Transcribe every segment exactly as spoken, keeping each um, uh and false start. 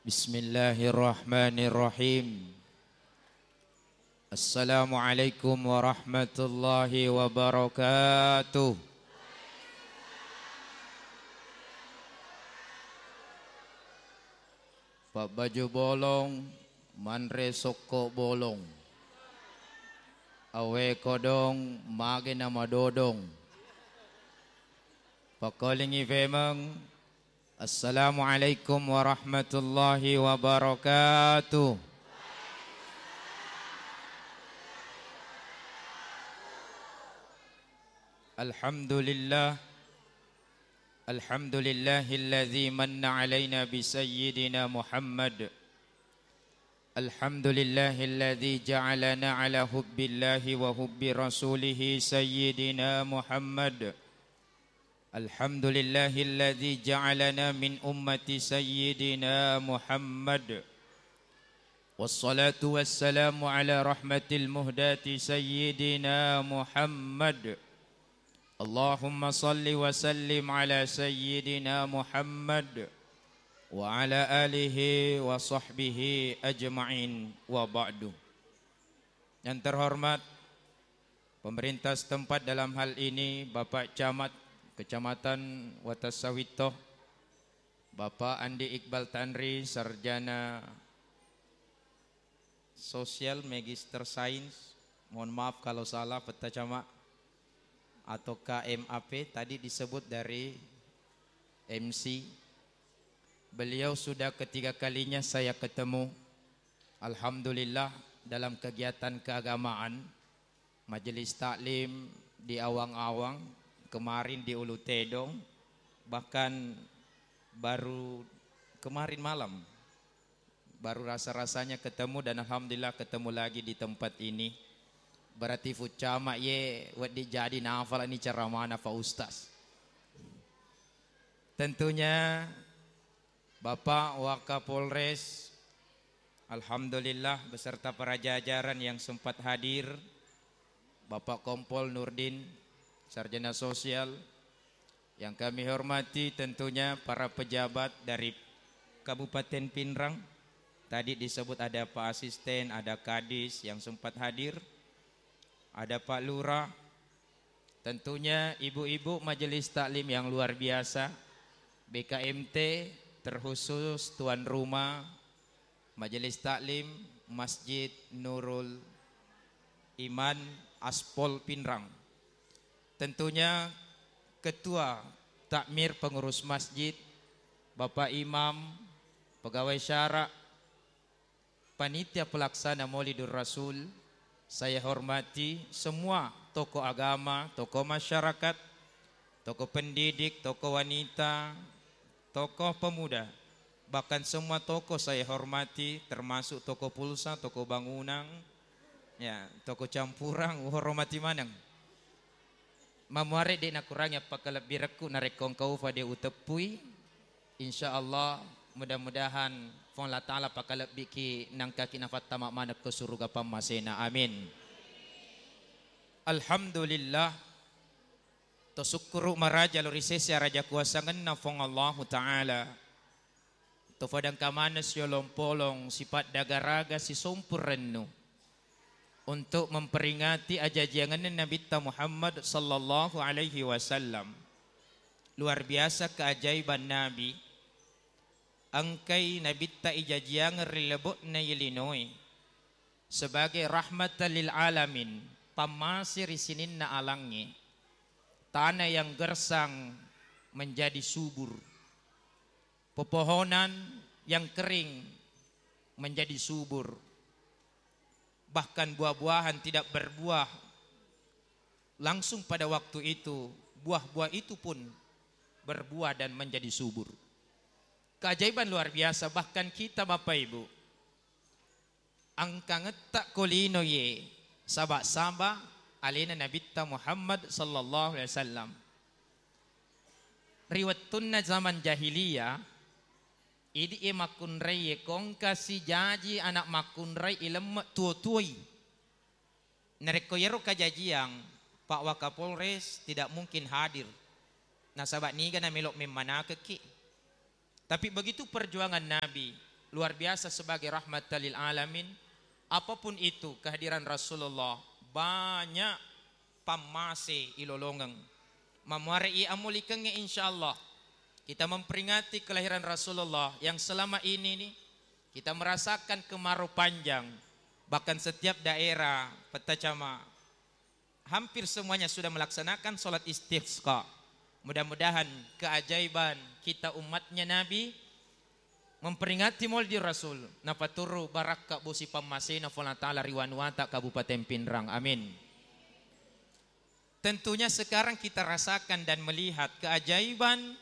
Bismillahirrahmanirrahim. Assalamualaikum warahmatullahi wabarakatuh. Pabbaju bolong, manre sokko bolong. Awe kodong, mage namadodong. Pakolingi femeng, Assalamualaikum warahmatullahi wabarakatuh. Alhamdulillah. Alhamdulillahilladzi manna alaina bi sayyidina Muhammad. Alhamdulillahilladzi ja'alana ala hubbillahi wa hubbi rasulihi sayyidina Muhammad. Alhamdulillahilladzi ja'alana min ummati sayyidina Muhammad. Wassalatu wassalamu ala rahmatil muhdati sayyidina Muhammad. Allahumma salli wa sallim ala sayyidina Muhammad wa ala alihi wa sahbihi ajma'in, wa ba'du. Yang terhormat pemerintah setempat, dalam hal ini Bapak Camat Kecamatan Watasawitto, Bapak Andi Iqbal Tanri, sarjana sosial, magister sains. Mohon maaf kalau salah, Petta Camat, atau K M A P tadi disebut dari M C. Beliau sudah ketiga kalinya saya ketemu. Alhamdulillah, dalam kegiatan keagamaan, majelis taklim di Awang-Awang, kemarin di Ulu Tedong, bahkan baru kemarin malam, baru rasa-rasanya ketemu, dan alhamdulillah ketemu lagi di tempat ini. Berarti Fu Camat ye wedding jadi nafalani ceramahna Pak Ustaz. Tentunya Bapak Wakapolres, alhamdulillah, beserta para jajaran yang sempat hadir, Bapak Kompol Nurdin, sarjana sosial, yang kami hormati tentunya para pejabat dari Kabupaten Pinrang. Tadi disebut ada Pak Asisten, ada Kadis yang sempat hadir, ada Pak Lurah, tentunya ibu-ibu majelis taklim yang luar biasa, B K M T, terkhusus tuan rumah Majelis Taklim Masjid Nurul Iman Aspol Pinrang. Tentunya Ketua Takmir Pengurus Masjid, Bapak Imam, Pegawai Syara, Panitia Pelaksana Maulidur Rasul, saya hormati semua tokoh agama, tokoh masyarakat, tokoh pendidik, tokoh wanita, tokoh pemuda, bahkan semua tokoh saya hormati, termasuk toko pulsa, toko bangunan, ya, toko campuran, uhormati maneng. Mamuare de' nakurangi appakalebbirekku, narekko engka ufa de' uteppui, insya Allah, mudah-mudahan Puang Allah Ta'ala pakalebbiki, nangkaki nafattama maneng ko suruga pammasena. Amin. Alhamdulillah. To sukkuru maraja lao ri sese araja kuasangenna Puang Allahu Ta'ala. To fadangka maneng siolong-polong sipaddagaraga sisompu rennu untuk memperingati ajajiangenna Nabitta Muhammad sallallahu alaihi wasallam. Luar biasa keajaiban Nabi. Engkai Nabitta ijajiangeng ri lebo'na ye linoe sebagai rahmatan lil alamin, pammase ri sininna alangnge, tanah yang gersang menjadi subur, pepohonan yang kering menjadi subur, bahkan buah-buahan tidak berbuah langsung pada waktu itu, buah-buah itu pun berbuah dan menjadi subur. Keajaiban luar biasa, bahkan kita Bapak Ibu, engkangetta ko lino ye saba-saba alena Nabitta Muhammad sallallahu alaihi wasallam. Ri wettunna zaman jahiliyah, idi' e makkunrai ye kongka sijaji anak makkunrai ilemme tuo-tuoi. Narekko yero kajajiang, Pak Wakapolres tidak mungkin hadir. Nasaba niga namelo memmanakekki. Tapi begitu perjuangan Nabi, luar biasa sebagai rahmatan lil alamin. Apapun itu kehadiran Rasulullah, banyak pammase ilolongeng. Mamuare i amulikengnge, insyaallah kita memperingati kelahiran Rasulullah yang selama ini nih kita merasakan kemarau panjang. Bahkan setiap daerah Peta Cama hampir semuanya sudah melaksanakan sholat istisqa. Mudah-mudahan keajaiban kita umatnya Nabi memperingati Maulid Rasul, napaturru barakka bosi pammasena Puang Allah Ta'ala ri wanuata Kabupaten Pinrang. Amin. Tentunya sekarang kita rasakan dan melihat keajaiban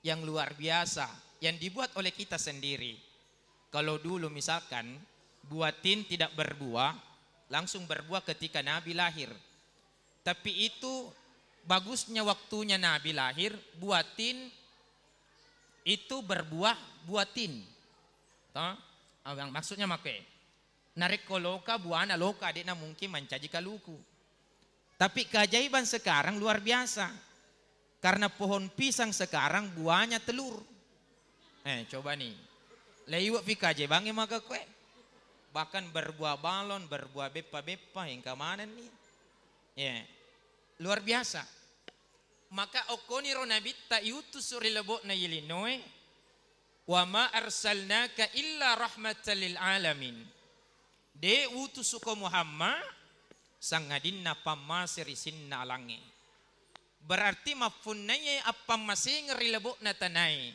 yang luar biasa yang dibuat oleh kita sendiri. Kalau dulu misalkan buah tin tidak berbuah, langsung berbuah ketika Nabi lahir. Tapi itu bagusnya waktunya Nabi lahir, buah tin itu berbuah buah tin. Toh? Ah, yang maksudnya make. Narekko loka, buana loka, de'na mungkin mancaji kaluku. Tapi keajaiban sekarang luar biasa. Karena pohon pisang sekarang buahnya telur. Eh, coba nih. Leiwe' fi keajaibangnge maka koe. Bahkan berbuah balon, berbuah beppa-beppa, engka manenni. Ya. Luar biasa. Maka okkoniro Nabitta iutusu ri lebo'na yelinoe, "Wa ma arsalnaka illa rahmatan lil alamin." De' utusuko Muhammad sangadinna pammase ri sininna alangnge. Berarti mappunnaiye appammasengeng ri lebo'na tanae,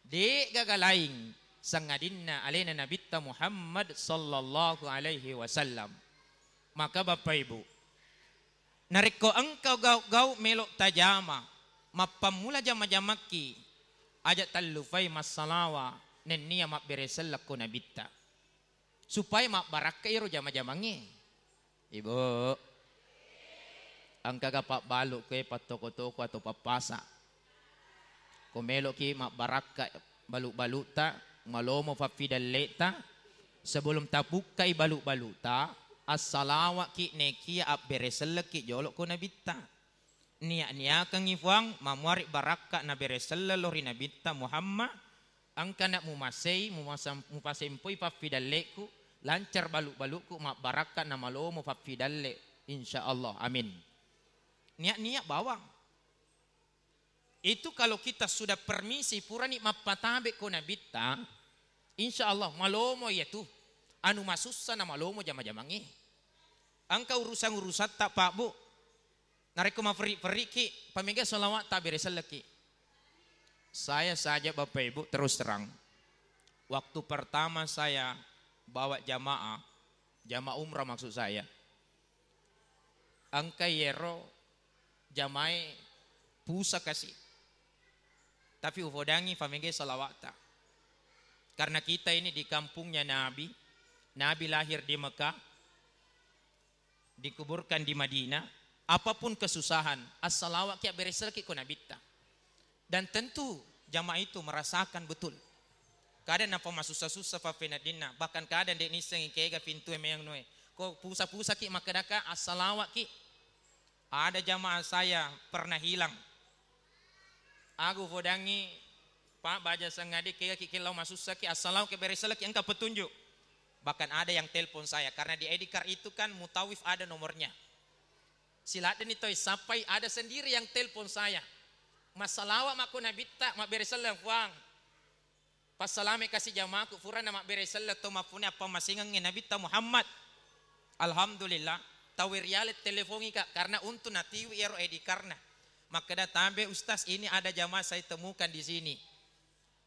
de' gaga laing sangadinna alena Nabitta Muhammad sallallahu alaihi wasallam. Maka Bapak Ibu, narekko engka gau'-gau' melo' tajama, mappammula jama-jamakki, aja' tallufai massalawa nennia mabbere sellekko Nabitta. Supaya mabbarakka iyaro jama-jamangnge. Ibu, engkaga pabbalu' koe pattoko-toko atau pappasa'? Ko melo'ki mabbarakka balu'-balu'ta, malomo faffidalle'ta, sebelum tapukkai balu'-balu'ta, assalawa'ki nekia abbere sellekki jolo' ko Nabitta. Nia'-niakengngi Fuang, mamuari barakka nabere selleng lao ri Nabitta Muhammad, engkana mumasei, mumasam-, mupasempoi faffidalle'ku, lancar balu'-balu'ku, mabbarakka namalomo faffidalle', insyaallah, amin. Nia'-nia' bawang. Itu kalau kita sudah permisi, purani mappatabe' ko Nabitta, insyaallah malomo iyatu. Anu masussa namalomo jama-jamangnge. Engka urusan-urusatta, Pak, Bu. Narekko maferri-ferriki, pamega salawat tabbere sellekki. Saya saja, Bapak Ibu, terus terang. Waktu pertama saya bawa jamaah, jamaah umrah maksud saya, engka yero jamae pusa kasi. Tapi ufodangi famege salawata. Karena kita ini di kampungnya Nabi, Nabi lahir di Mekah, dikuburkan di Madinah, apapun kesusahan, assalawaki abbere sellekki ko Nabitta. Dan tentu jamaah itu merasakan betul. Kada napa masussa-sussa faffeneddinna, bahkan kada nde nissengi kega pintue meang nue. Ko pusa-pusaki makkedaka, assalawaki. Ada jamaah saya pernah hilang. Aga ufodangi, Pak, baja sengadi, kegaki kellau masussaki, assalawaki abbere sellekki, engka petunjuk. Bahkan ada yang telepon saya, karena di I D card itu kan Mutawif ada nomornya. Siladdeni toi sappai, ada sendiri yang telepon saya. Massalawa makko Nabitta, mabbere selleng, Fuang. Passalame kasi jamaku, purana mabbere selleng to mappunnai appammasengengnge Nabitta Muhammad. Alhamdulillah, tauwe riale telepongi, Kak, karena untuk natiwi iyaro I D card-na. Makkeda, "Tabe, Ustaz, ini ada jamaah saya temukan di sini."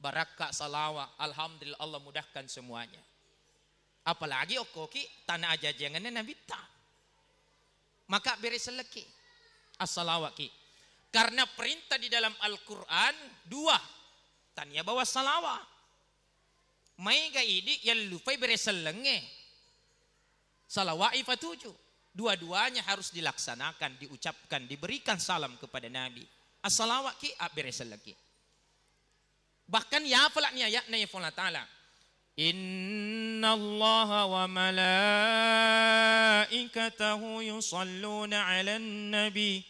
Barakka salawa, alhamdulillah, Allah mudahkan semuanya. Apalagi okkoki tana ajajiangenna Nabitta. Maka bere sellekki, assalawaki. Karena perintah di dalam Al-Quran dua, tania bawa salawa. Maega idi yallupai bere sellengnge. Salawai fatuju. Dua-duanya harus dilaksanakan, diucapkan, diberikan salam kepada Nabi. Assalawaki, abbere sellekki. Bahkan yafalani ayatna ya Allah Ta'ala. Innallaha wa malaikatahu yusalluna 'alan nabi.